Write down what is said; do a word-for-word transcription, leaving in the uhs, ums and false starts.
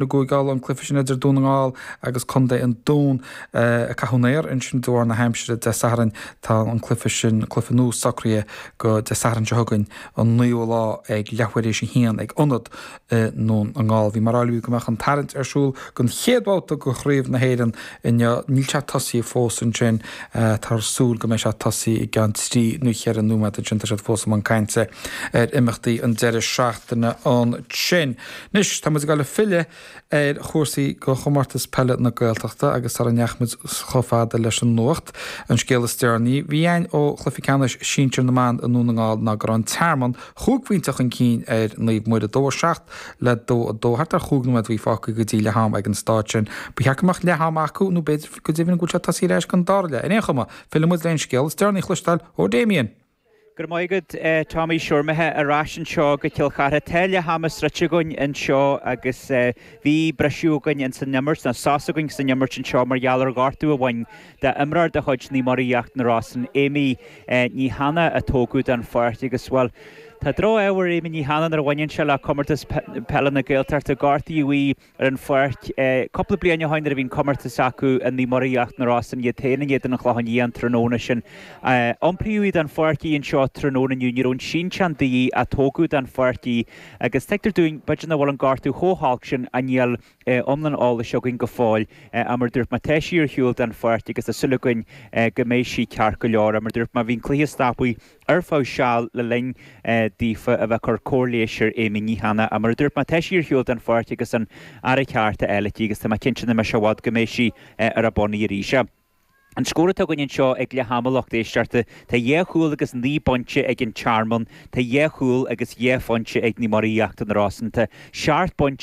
I gCúige Uladh, an cluiche sin idir Dún na nGall agus Contae an Dúin a caitheadh an aer ansin de bharr na haimsire Dé Sathairn. Tá an cluiche sin, cluiche nua socraithe go Dé Sathairn seo chugainn, an naoú lá ag leathuair éis a haon ag ionad i nDún na nGall. Bhí mé ag rá libh go mbeadh an tarraingt ar siúl don chéad bhabhta de Chraobh na hÉireann inniu. Níl sé tosaithe fós ansin. Táthar ag súil go mbeidh sé tosaithe i gceann trí nó cheithre nóiméad ansin. Tá siad fós i mbun cainte ar imeachtaí an deireadh seachtaine ansin. Anois, tá muid ag dul ag filleadh ar chúrsaí go Chomórtas Peile na Gaeltachta agus sara ndeachaigh muid chomh fada leis an nuacht, an scéal is deireanaí a bhí againn ó chluiche ceannais sinsir na mban i nDún na nGall ná go raibh an Tearmann chúig phointe chun cinn ar Naomh Muire, dó a seacht le dó a dó, thart ar chúig nóiméad a bhí fágtha go dtí leath-am ag an staid sin. Ba cheart go mbeadh leath-am acu nó b'fhéidir go deimhin go bhfuil sé tosaithe ar ais don dara leath. Ar aon chuma, fillfidh muid le an scéal is deireanaí a chloisteáil ó Damien. Go raibh maith agat, Tommy. Siúrmaithe ar ais anseo go Cill Chartha. Tá leath ama sroichte againn anseo agus bhí briseadh againn ins an imirt, nó sos againn san imirt anseo mar gheall ar ghortú a bhain d'imreoir de chuid Naomh Muire Íochtar na Rosann, Amy Ní Shanna a tógadh den pháirc agus, bhuel, tá droch-ádh ar Amy Ní Shanna nuair a bhaineann sé le Comórtas Peile na Gaeltachta. Gortaíodh í ar an pháirc cúpla bliain ó shin nuair a bhí an comórtas acu i Naomh Muire Íochtar na Rosann, iad féin in éadan an Chlocháin Liath an tráthnóna sin. Iompraíodh í den pháirc í anseo tráthnóna inniu. Ní raibh an sínteán de dhíth ach tógadh den pháirc í agus tuigtear dúinn b'fhéidir nach bhfuil an gortú chomh holc sin ach níl iomlán eolais againn go fóill. Ach mar a dúirt mé, tá sí ar shiúl den pháirc agus tá súil againn go mbeidh sí ceart go leor. Mar a dúirt mé, bhí an cluiche stoptha ar feadh seal le linn daofa a bheith ag cur cóir leighis ar Amy Ní Shanna. Ach mar a dúirt mé, tá sí ar shiúl den pháirc agus an aire ceart á fháil aici agus tá mé cinnte nach mbeidh sé i bhfad go mbeidh sí ar a bonnaí arís. An scór atá againn anseo ag leath ama, lucht éisteachta, tá dhá chúl agus naoi bpointe ag an Tearmann, tá dhá chúl agus dhá phointe ag Naomh Muire Íochtar na Rosann, tá seacht bpointe